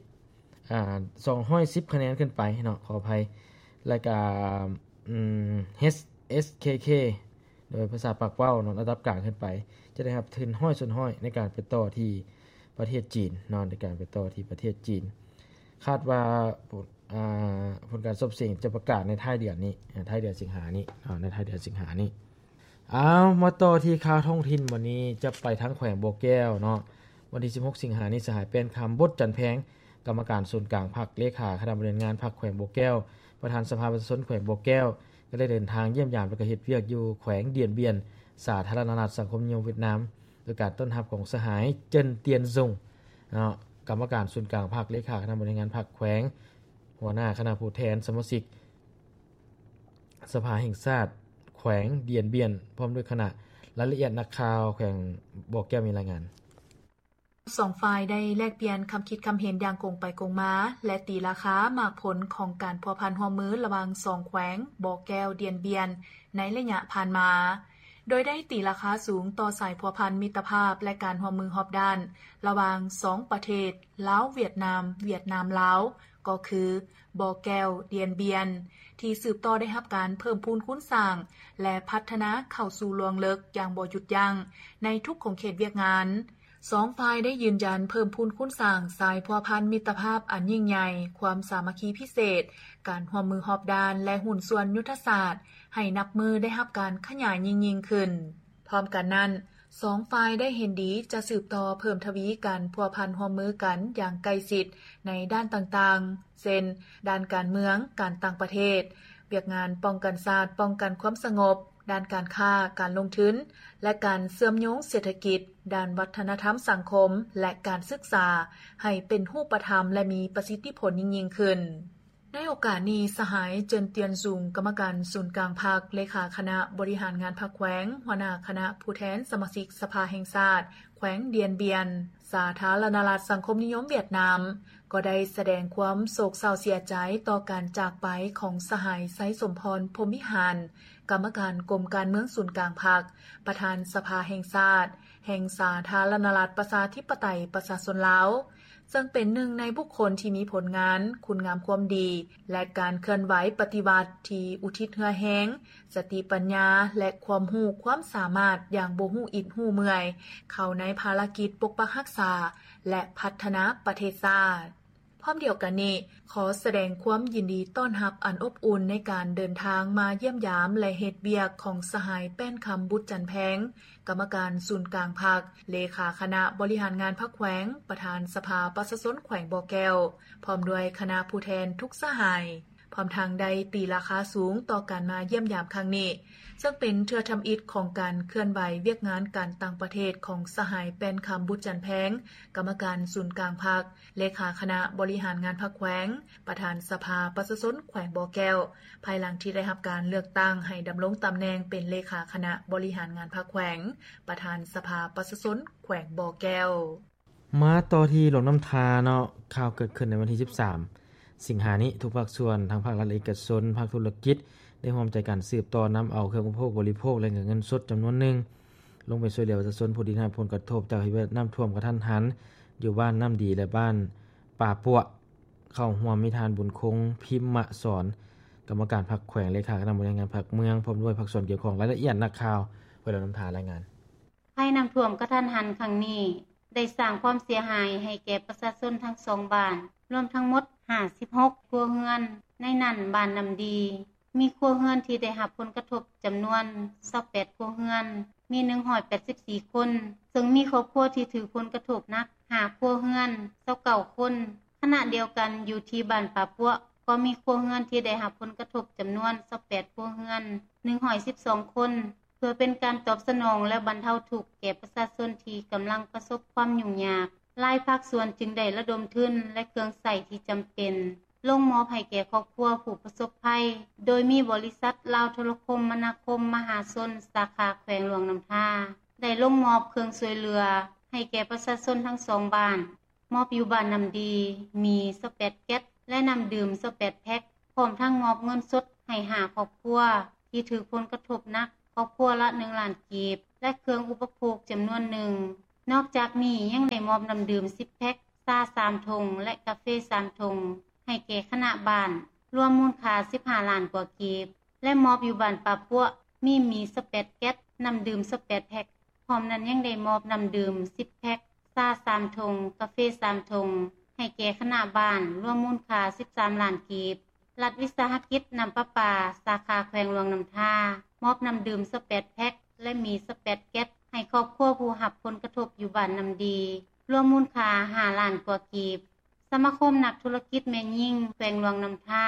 ອາ ສອງຮ້ອຍສິບຄະແນນຂຶ້ນໄປເນາະ ຂໍອະໄພ ແລ້ວກະ ເອັສເຄເຄ ໂດຍພາສາປາກເວົ້າເນາະ ລະດັບກາງຂຶ້ນໄປ ຈະໄດ້ຮັບທຶນຮ້ອຍສ່ວນຮ້ອຍໃນການໄປຕໍ່ທີ່ປະເທດຈີນເນາະ ໃນການໄປຕໍ່ທີ່ປະເທດຈີນ. ຄາດວ່າ ອາ ຜົນການສອບເສັງຈະປະກາດໃນທ້າຍເດືອນນີ້ ອາ ທ້າຍເດືອນສິງຫານີ້ເນາະ ໃນທ້າຍເດືອນສິງຫານີ້. ເອົາ ມາຕໍ່ທີ່ຂ່າວທ້ອງຖິ່ນ ວັນນີ້ຈະໄປທາງແຂວງບໍ່ແກ້ວເນາະ. ວັນທີສິບຫົກ ສິງຫານີ້ ສະຫາຍ ແປ້ນຄຳ ບົດຈັນແພງ ກຳມະການສູນກາງພັກ ເລຂາຄະນະບໍລິຫານງານພັກແຂວງບໍ່ແກ້ວ ປະທານສະພາປະຊາຊົນແຂວງບໍ່ແກ້ວ ກໍໄດ້ເດີນທາງຢ້ຽມຢາມ ແລະ ກໍເຮັດວຽກຢູ່ແຂວງດຽນບຽນ ສາທາລະນະລັດສັງຄົມນິຍົມຫວຽດນາມ ໂດຍການຕ້ອນຮັບຂອງສະຫາຍ ເຈິນ ຕຽນ ຊຸງ ເນາະ ກຳມະການສູນກາງພັກ ເລຂາຄະນະບໍລິຫານງານພັກແຂວງ ຫົວໜ້າຄະນະຜູ້ແທນສະມາຊິກສະພາແຫ່ງຊາດແຂວງດຽນບຽນ ພ້ອມດ້ວຍຄະນະ. ລາຍລະອຽດນັກຂ່າວແຂວງບໍ່ແກ້ວມີລາຍງານ. ສອງຝ່າຍໄດ້ແລກປ່ຽນຄຳຄິດຄຳເຫັນຢ່າງກົງໄປກົງມາ ແລະ ຕີລາຄາໝາກຜົນຂອງການພົວພັນຮ່ວມມືລະຫວ່າງສອງແຂວງ ບໍ່ແກ້ວ ດຽນບຽນ ໃນໄລຍະຜ່ານມາ, ໂດຍໄດ້ຕີລາຄາສູງຕໍ່ສາຍພົວພັນມິດຕະພາບ ແລະ ການຮ່ວມມືຮອບດ້ານລະຫວ່າງສອງປະເທດ ລາວ-ຫວຽດນາມ, ຫວຽດນາມ-ລາວ ກໍຄື ບໍ່ແກ້ວ-ດຽນບຽນ ທີ່ສືບຕໍ່ໄດ້ຮັບການເພີ່ມພູນຄູນສ້າງ ແລະ ພັດທະນາເຂົ້າສູ່ລວງເລິກຢ່າງບໍ່ຢຸດຢັ້ງໃນທຸກຂົງເຂດວຽກງານ. ສອງຝ່າຍໄດ້ຢືນຢັນເພີ່ມພູນຄູນສ້າງສາຍພົວພັນມິດຕະພາບອັນຍິ່ງໃຫຍ່, ຄວາມສາມັກຄີພິເສດ, ການຮ່ວມມືຮອບດ້ານ ແລະ ຫຸ້ນສ່ວນຍຸດທະສາດ ໃຫ້ນັບມື້ໄດ້ຮັບການຂະຫຍາຍຍິ່ງໆຂຶ້ນ. ພ້ອມກັນນັ້ນ, ສອງຝ່າຍໄດ້ເຫັນດີຈະສືບຕໍ່ເພີ່ມທະວີການພົວພັນຮ່ວມມືກັນຢ່າງໃກ້ຊິດໃນດ້ານຕ່າງໆ ເຊັ່ນ ດ້ານການເມືອງ, ການຕ່າງປະເທດ, ວຽກງານປ້ອງກັນຊາດ, ປ້ອງກັນຄວາມສະຫງົບ, ດ້ານການຄ້າ, ການລົງທຶນ ແລະ ການເຊື່ອມໂຍງເສດຖະກິດ, ດ້ານວັດທະນະທຳສັງຄົມ ແລະ ການສຶກສາ ໃຫ້ເປັນຮູບປະທຳ ແລະ ມີປະສິດທິຜົນຍິ່ງໆຂຶ້ນ. ໃນໂອກາດນີ້, ສະຫາຍ ເຈິນ ຕຽນ ຊຸງ ກຳມະການສູນກາງພັກ, ເລຂາຄະນະບໍລິຫານງານພັກແຂວງ, ຫົວໜ້າຄະນະຜູ້ແທນສະມາຊິກສະພາແຫ່ງຊາດ ແຂວງດຽນບຽນ ສາທາລະນະລັດສັງຄົມນິຍົມຫວຽດນາມ ກໍໄດ້ສະແດງຄວາມໂສກເສົ້າເສຍໃຈຕໍ່ການຈາກໄປຂອງສະຫາຍ ໄຊສົມພອນ ພົມວິຫານ ກຳມະການກົມການເມືອງສູນກາງພັກ, ປະທານສະພາແຫ່ງຊາດ ແຫ່ງສາທາລະນະລັດປະຊາທິປະໄຕປະຊາຊົນລາວ, ເຊິ່ງເປັນໜຶ່ງໃນບຸກຄົນທີ່ມີຜົນງານ, ຄຸນງາມຄວາມດີ ແລະ ການເຄື່ອນໄຫວປະຕິວັດທີ່ອຸທິດເຫື່ອແຮງ, ສະຕິປັນຍາ ແລະ ຄວາມຮູ້ຄວາມສາມາດຢ່າງບໍ່ຮູ້ອິດຮູ້ເມື່ອຍ ເຂົ້າໃນພາລະກິດປົກປັກຮັກສາ ແລະ ພັດທະນາປະເທດຊາດ. ພ້ອມດຽວກັນນີ້, ຂໍສະແດງຄວາມຍິນດີຕ້ອນຮັບອັນອົບອຸ່ນໃນການເດີນທາງມາຢ້ຽມຢາມ ແລະ ເຮັດວຽກຂອງສະຫາຍ ແປ້ນຄຳ ບຸດຈັນແພງ ກຳມະການສູນກາງພັກ, ເລຂາຄະນະບໍລິຫານງານພັກແຂວງ, ປະທານສະພາປະຊາຊົນແຂວງບໍ່ແກ້ວ, ພ້ອມດ້ວຍຄະນະຜູ້ແທນທຸກສະຫາຍ. ພ້ອມທັງໄດ້ຕີລາຄາສູງຕໍ່ການມາຢ້ຽມຢາມຄັ້ງນີ້, ເຊິ່ງເປັນເທື່ອທຳອິດຂອງການເຄື່ອນໄຫວວຽກງານການຕ່າງປະເທດຂອງສະຫາຍ ແປ້ນຄຳ ບຸດຈັນແພງ, ກຳມະການສູນກາງພັກ, ເລຂາຄະນະບໍລິຫານງານພັກແຂວງ, ປະທານສະພາປະຊາຊົນແຂວງບໍ່ແກ້ວ, ພາຍຫຼັງທີ່ໄດ້ຮັບການເລືອກຕັ້ງໃຫ້ດຳລົງຕຳແໜ່ງເປັນເລຂາຄະນະບໍລິຫານງານພັກແຂວງ, ປະທານສະພາປະຊາຊົນແຂວງບໍ່ແກ້ວ. ມາຕໍ່ທີ່ຫຼວງນ້ຳທາເນາະ, ຂ່າວເກີດຂຶ້ນໃນວັນທີສິບສາມ ສິງຫານີ້, ທຸກພາກສ່ວນ ທັງພາກລັດ ເອກະຊົນ, ພາກທຸລະກິດ ໄດ້ຮ່ວມໃຈກັນສືບຕໍ່ນຳເອົາເຄື່ອງອຸປະໂພກບໍລິໂພກ ແລະ ເງິນສົດຈຳນວນໜຶ່ງ ລົງໄປຊ່ວຍເຫຼືອປະຊາຊົນຜູ້ໄດ້ຮັບຜົນກະທົບຈາກເຫດນ້ຳຖ້ວມກະທັນຫັນ ຢູ່ບ້ານນ້ຳດີ ແລະ ບ້ານປ່າປົວ. ເຂົ້າຮ່ວມມີທ່ານ ບຸນຄົງ ພິມມະສອນ, ກຳມະການພັກແຂວງ, ເລຂາຄະນະບໍລິຫານງານພັກເມືອງ, ພ້ອມດ້ວຍພາກສ່ວນກ່ຽວຂ້ອງ. ລາຍລະອຽດນັກຂ່າວ ແຂວງຫຼວງນ້ຳທາລາຍງານ. ໄພນ້ຳຖ້ວມກະທັນຫັນຄັ້ງນີ້ ໄດ້ສ້າງຄວາມເສຍຫາຍໃຫ້ແກ່ປະຊາຊົນທັງສອງບ້ານ ລວມທັງໝົດຫ້າສິບຫົກຄົວເຮືອນ, ໃນນັ້ນບ້ານນ້ຳດີ ມີຄົວເຮືອນທີ່ໄດ້ຮັບຜົນກະທົບຈຳນວນຊາວແປດຄົວເຮືອນ, ມີໜຶ່ງຮ້ອຍແປດສິບສີ່ຄົນ, ເຊິ່ງມີຄອບຄົວທີ່ຖືກຜົນກະທົບໜັກຫ້າຄົວເຮືອນ, ຊາວເກົ້າຄົນ. ຂະນະດຽວກັນ, ຢູ່ທີ່ບ້ານປ່າປົວ ກໍມີຄົວເຮືອນທີ່ໄດ້ຮັບຜົນກະທົບຈຳນວນຊາວແປດຄົວເຮືອນ, ໜຶ່ງຮ້ອຍສິບສອງຄົນ. ເພື່ອເປັນການຕອບສະໜອງ ແລະ ບັນເທົາທຸກແກ່ປະຊາຊົນທີ່ກຳລັງປະສົບຄວາມຫຍຸ້ງຍາກ, ຫຼາຍພາກສ່ວນຈຶ່ງໄດ້ລະດົມທຶນ ແລະ ເຄື່ອງໃຊ້ທີ່ຈຳເປັນ ລົງມອບໃຫ້ແກ່ຄອບຄົວຜູ້ປະສົບໄພ, ໂດຍມີບໍລິສັດລາວໂທລະຄົມມະນາຄົມມະຫາຊົນ ສາຂາແຂວງຫຼວງນ້ຳທາ ໄດ້ລົງມອບເຄື່ອງຊ່ວຍເຫຼືອໃຫ້ແກ່ປະຊາຊົນທັງສອງບ້ານ. ມອບຢູ່ບ້ານນ້ຳດີ ມີຊາວແປດແກັດ ແລະ ນ້ຳດື່ມຊາວແປດແພັກ, ພ້ອມທັງມອບເງິນສົດໃຫ້ຫ້າຄອບຄົວທີ່ຖືກຜົນກະທົບໜັກ, ຄອບຄົວລະໜຶ່ງລ້ານກີບ ແລະ ເຄື່ອງອຸປະໂພກຈຳນວນໜຶ່ງ. ນອກຈາກນີ້ຍັງໄດ້ມອບນ້ຳດື່ມສິບແພັກ, ຊາສາມຖົງ ແລະ ກາເຟສາມຖົງ ໃຫ້ແກ່ຄະນະບ້ານ, ລວມມູນຄ່າສິບຫ້າລ້ານກວ່າກີບ ແລະ ມອບຢູ່ບ້ານປ່າປົວ ມີໝີ່ຊາວແປດແກັດ, ນ້ຳດື່ມຊາວແປດແພັກ, ພ້ອມນັ້ນຍັງໄດ້ມອບນ້ຳດື່ມສິບແພັກ, ຊາສາມຖົງ, ກາເຟສາມຖົງ ໃຫ້ແກ່ຄະນະບ້ານ, ລວມມູນຄ່າສິບສາມລ້ານກີບ. ລັດວິສາຫະກິດນ້ຳປະປາ ສາຂາແຂວງຫຼວງນ້ຳທາ ມອບນ້ຳດື່ມຊາວແປດແພັກ ແລະ ໝີ່ຊາວແປດແກັດ ໃຫ້ຄອບຄົວຜູ້ຮັບຜົນກະທົບຢູ່ບ້ານນ້ຳດີ, ລວມມູນຄ່າຫ້າລ້ານກວ່າກີບ. ສະມາຄົມນັກທຸລະກິດແມ່ຍິງແຂວງຫຼວງນ້ຳທາ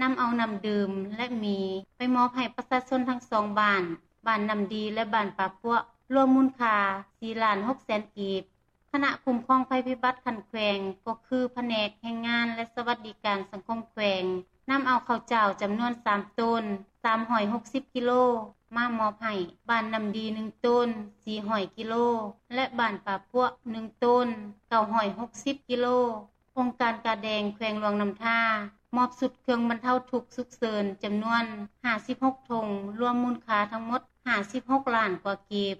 ນຳເອົານ້ຳດື່ມ ແລະ ໝີ່ ໄປມອບໃຫ້ປະຊາຊົນທັງສອງບ້ານ, ບ້ານນ້ຳດີ ແລະ ບ້ານປ່າປົວ, ລວມມູນຄ່າສີ່ລ້ານຫົກແສນກີບ. ຄະນະຄຸ້ມຄອງໄພພິບັດຂັ້ນແຂວງ ກໍຄືພະແນກແຮງງານ ແລະ ສະຫວັດດີການສັງຄົມແຂວງ ນຳເອົາເຂົ້າເຈົ້າຈຳນວນສາມໂຕນ ສາມຮ້ອຍຫົກສິບກິໂລ ມາມອບໃຫ້ບ້ານນ້ຳດີໜຶ່ງໂຕນ ສີ່ຮ້ອຍກິໂລ ແລະ ບ້ານປ່າປົວໜຶ່ງໂຕນ ເກົ້າຮ້ອຍຫົກສິບກິໂລ. ອົງການກາແດງແຂວງຫຼວງນ້ຳທາ ມອບຊຸດເຄື່ອງບັນເທົາທຸກສຸກເສີນຈຳນວນຫ້າສິບຫົກຖົງ, ລວມມູນຄ່າທັງໝົດຫ້າສິບຫົກລ້ານກວ່າກີບ,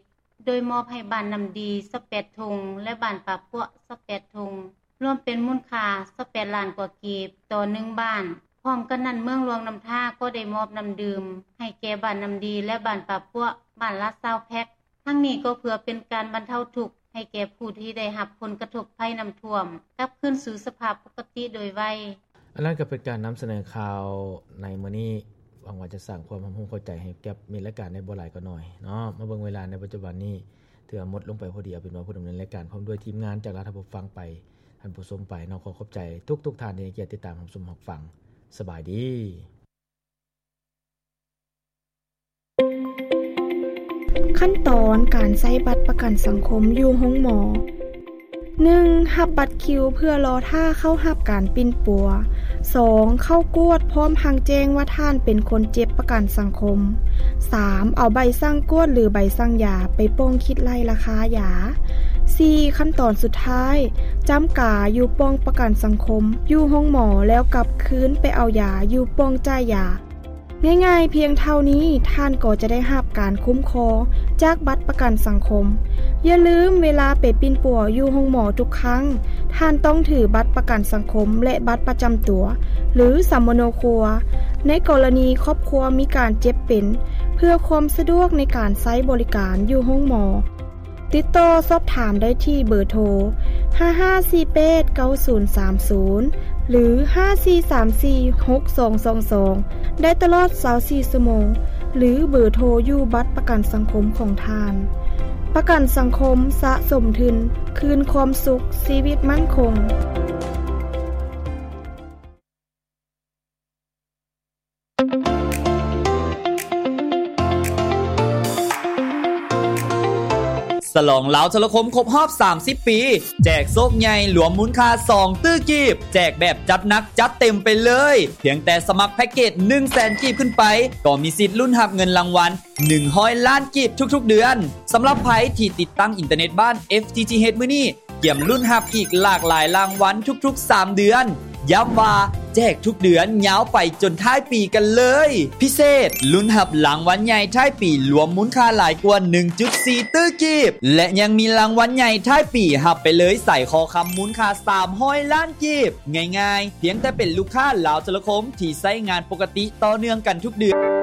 ໂດຍມອບໃຫ້ບ້ານນ້ຳດີຊາວແປດຖົງ ແລະ ບ້ານປ່າປົວຊາວແປດຖົງ, ລວມເປັນມູນຄ່າຊາວແປດລ້ານກວ່າກີບຕໍ່ໜຶ່ງບ້ານ. ພ້ອມກັນນັ້ນ, ເມືອງຫຼວງນ້ຳທາກໍໄດ້ມອບນ້ຳດື່ມໃຫ້ແກ່ບ້ານນ້ຳດີ ແລະ ບ້ານປ່າປົວ ບ້ານລະຊາວແພັກ. ທັງນີ້ກໍເພື່ອເປັນການບັນເທົາທຸກໃຫ້ແກ່ຜູ້ທີ່ໄດ້ຮັບຜົນກະທົບໄພນ້ຳຖ້ວມ ກັບຄືນສູ່ສະພາບປົກກະຕິໂດຍໄວ. ອັນນັ້ນກໍເປັນການນຳສະເໜີຂ່າວໃນມື້ນີ້. ຫວັງວ່າຈະສ້າງຄວາມຮັບຮູ້ເຂົ້າໃຈໃຫ້ແກ່ມິດລາຍການໄດ້ບໍ່ຫຼາຍກໍໜ້ອຍເນາະ. ມາເບິ່ງເວລາໃນປັດຈຸບັນນີ້ ຖືວ່າໝົດລົງໄປພໍດີ. ເອົາເປັນວ່າຜູ້ດຳເນີນລາຍການພ້ອມດ້ວຍທີມງານຈາກລາວ ທ່ານຜູ້ຟັງໄປ, ທ່ານຜູ້ຊົມໄປເນາະ. ຂໍຂອບໃຈທຸກໆທ່ານທີ່ໃຫ້ກຽດຕິດຕາມຮັບຊົມຮັບຟັງ. ສະບາຍດີ. ຂັ້ນຕອນການໃຊ້ບັດປະກັນສັງຄົມຢູ່ໂຮງໝໍ. ໜຶ່ງ ຮັບບັດຄິວເພື່ອລໍຖ້າເຂົ້າຮັບການປິ່ນປົວ. ສອງ ເຂົ້າກວດພ້ອມທັງແຈ້ງວ່າທ່ານເປັນຄົນເຈັບປະກັນສັງຄົມ. ສາມ ເອົາໃບສັ່ງກວດ ຫຼື ໃບສັ່ງຢາໄປປ່ອງຄິດໄລ່ລາຄາຢາ. ສີ່ ຂັ້ນຕອນສຸດທ້າຍ ຈຳກາຢູ່ປ່ອງປະກັນສັງຄົມ ຢູ່ໂຮງໝໍ ແລ້ວກັບຄືນໄປເອົາຢາຢູ່ປ່ອງຈ່າຍຢາ. ງ່າຍໆພຽງເທົ່ານີ້ ທ່ານກໍຈະໄດ້ຮັບການຄຸ້ມຄອງຈາກບັດປະກັນສັງຄົມ. ຢ່າລືມ, ເວລາໄປປິ່ນປົວຢູ່ໂຮງໝໍທຸກຄັ້ງ, ທ່ານຕ້ອງຖືບັດປະກັນສັງຄົມ ແລະ ບັດປະຈຳຕົວ ຫຼື ສຳມະໂນຄົວ ໃນກໍລະນີຄອບຄົວມີການເຈັບເປັນ, ເພື່ອຄວາມສະດວກໃນການໃຊ້ບໍລິການຢູ່ໂຮງໝໍ. ຕິດຕໍ່ສອບຖາມໄດ້ທີ່ເບີໂທ ຫ້າຫ້າສີ່ແປດເກົ້າສູນສາມສູນ ຫຼື ຫ້າສີ່ສາມສີ່ຫົກສອງສອງສອງ ໄດ້ຕະຫຼອດຊາວສີ່ຊົ່ວໂມງ ຫຼື ເບີໂທຢູ່ບັດປະກັນສັງຄົມຂອງທ່ານ. ປະກັນສັງຄົມສະສົມທຶນ ຄືນຄວາມສຸກ, ຊີວິດໝັ້ນຄົງ. ສະຫຼອງລາວໂທລະຄົມຄົບຮອບສາມສິບປີ ແຈກໂຊກໃຫຍ່ລວມມູນຄ່າສອງຕື້ກີບ ແຈກແບບຈັດໜັກຈັດເຕັມໄປເລີຍ ພຽງແຕ່ສະໝັກແພັກເກດໜຶ່ງແສນກີບຂຶ້ນໄປ ກໍມີສິດລຸ້ນຮັບເງິນລາງວັນໜຶ່ງຮ້ອຍລ້ານກີບທຸກໆເດືອນ. ສຳລັບໃຜທີ່ຕິດຕັ້ງອິນເຕີເນັດບ້ານ FTTH ມື້ນີ້ ກຽມລຸ້ນຮັບອີກຫຼາກຫຼາຍລາງວັນທຸກໆສາມເດືອນ. ຢ້ຳວ່າແຈກທຸກເດືອນຍາວໄປຈົນທ້າຍປີກັນເລີຍ. ພິເສດ, ລຸ້ນຮັບລາງວັນໃຫຍ່ທ້າຍປີລວມມູນຄ່າຫຼາຍກວ່າໜຶ່ງຈຸດສີ່ຕື້ກີບ ແລະ ຍັງມີລາງວັນໃຫຍ່ທ້າຍປີຮັບໄປເລີຍສາຍຄໍຄຳມູນຄ່າສາມຮ້ອຍລ້ານກີບ. ງ່າຍໆ, ພຽງແຕ່ເປັນລູກຄ້າລາວໂທລະຄົມທີ່ໃຊ້ງານປົກກະຕິຕໍ່ເນື່ອງກັນທຸກເດືອນ.